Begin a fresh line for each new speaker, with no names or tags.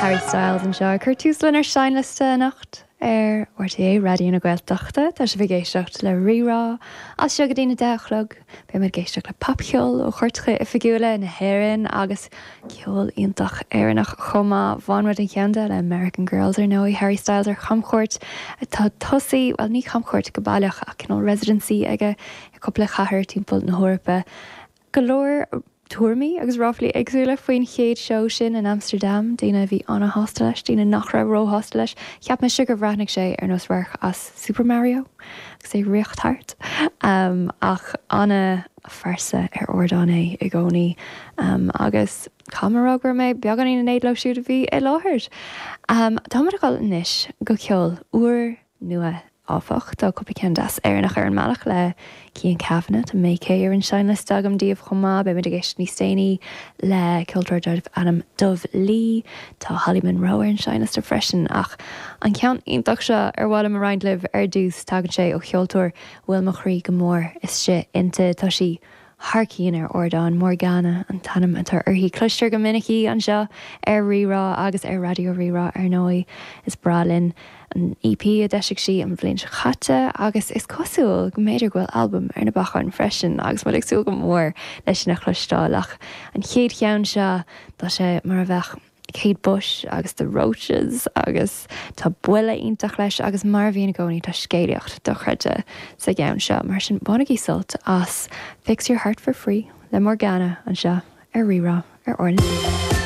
Harry Styles anseo ag cur tús lenár seinnliosta anocht ar RTÉ Raidió na Gaeltachta. Tá sibh ag éisteacht le Rí-Rá as seo go dtí na 10 a chlog. Beidh muid ag éisteacht le popcheol ó chairteacha oifigiúla na hÉireann agus ceol iontach Éireannach chomh maith. Bhain muid an ceann de le American Girls ar ndóigh, Harry Styles ar chamchuairt atá tosaithe, bhuel ní camchuairt go baileach ach cineál residency aige i cúpla cathair timpeall na hEorpa. Go leor tuairimí agus ráflaí éagsúla faoin chéad seó sin in Amsterdam, daoine a bhí ana-shásta leis, daoine nach raibh róshásta leis. Cheap mise gur bhreathnaigh sé ar nós radharc as Super Mario agus é ag rith thart. Ach ana-phearsa ar ardán é i gcónaí agus caithfidh mé a rá go raibh mé beagáinín in éad leo siúd a bhí i láthair. Táimid ag dul anois go ceol úr nua, áfach. Tá cúpla ceann deas Éireannach ar an mbealach le Cian Kavanagh. Tá May-Kay ar an seinnliosta agam daoibh chomh maith. Beidh muid ag éisteacht níos déanaí le ceoltóir darbh ainm Dubh Lee. Tá Holly Monroe ar an seinnliosta freisin. Ach an ceann iontach seo ar mhaith liom a roinnt libh ar dtús, tagann sé ó cheoltóir a bhfuil mo chroí go mór istigh inti. Tá sí thar cionn ar ardán. Morgana an t-ainm atá uirthi. Cloistear go minic í anseo ar Rí-Rá agus ar Raidió Rí-Rá ar ndóigh. Is breá linn an EP a d'eisigh sí an bhliain seo caite agus is cosúil go mb'fhéidir go bhfuil albam ar na bacáin freisin agus muid ag súil go mór leis sin a chloisteáil. Ach an chéad cheann seo, tá sé mar a bheadh Kate Bush agus The Roches agus tá buille iontach leis agus mar a bhíonn i gcónaí tá scéalaíocht dochreidte sa gceann seo. Mar sin bainigí sult as Fix Your Heart For Free le Morgana anseo ar Rí-Rá ar R na G.